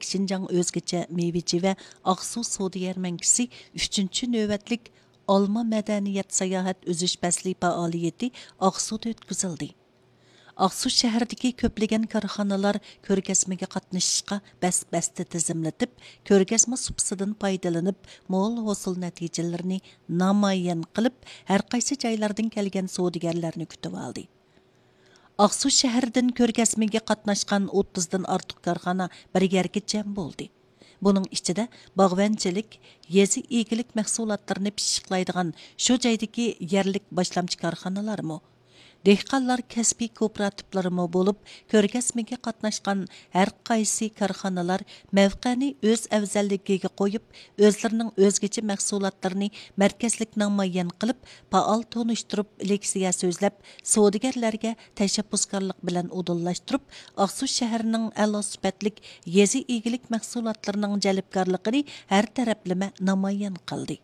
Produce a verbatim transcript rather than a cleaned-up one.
شىنجاڭ ئۆزگىچە مېۋىچى ۋە ئاقسۇ سودا يەرمەنكىسى ئۈچىنچى نۆۋەتلىك ئالما مەدەنىيەت ساياھەت ئۈزۈش پەسلى پائالىيىتى ئاقسۇدا ئۆتكۈزۈلدى. ئاقسۇ شەھىرىدىكى كۆپلىگەن كارخانىلار كۆرگەزمىگە قاتنىشىشقا بەس-بەستە تىزىملىتىپ، كۆرگەزمە سۇپىسىدىن پايدىلىنىپ، مول ھوسۇل نەتىجىلىرىنى نامايان قىلىپ، ھەرقايسى جايلاردىن كەلگەن سودىگەرلەرنى كۈتۈۋالدى. ئاقسۇ شەھىرىدىن كۆرگەزمىگە قاتناشقان ئوتتۇزدىن ئارتۇق كارخانا بىر يەرگە جەم بولدى. بۇنىڭ ئىچىدە باغۋەنچىلىك، يېزا ئىگىلىك مەھسۇلاتلىرىنى پىششىقلايدىغان شۇ جايدىكى يەرلىك باشلامچى كارخانىلارمۇ، دېھقانلار كەسپىي كوپىراتىپلىرىمۇ بولۇپ، كۆرگەزمىگە قاتناشقان ھەر قايسى كارخانىلار مەۋقەنى ئۆز ئەۋزەللىكىگە قويۇپ، ئۆزلىرىنىڭ ئۆزگىچە مەھسۇلاتلىرىنى مەركەزلىك نامايان قىلىپ، پائال تونۇشتۇرۇپ، لېكسىيە سۆزلەپ، سودىگەرلەرگە تەشەببۇسكارلىق بىلەن ئۇدۇللاشتۇرۇپ، ئاقسۇ شەھىرىنىڭ ئەلا سۈپەتلىك يېزا ئىگىلىك مەھسۇلاتلىرىنىڭ جەلپكارلىقىنى ھەر تەرەپلىمە نامايان قىلدى.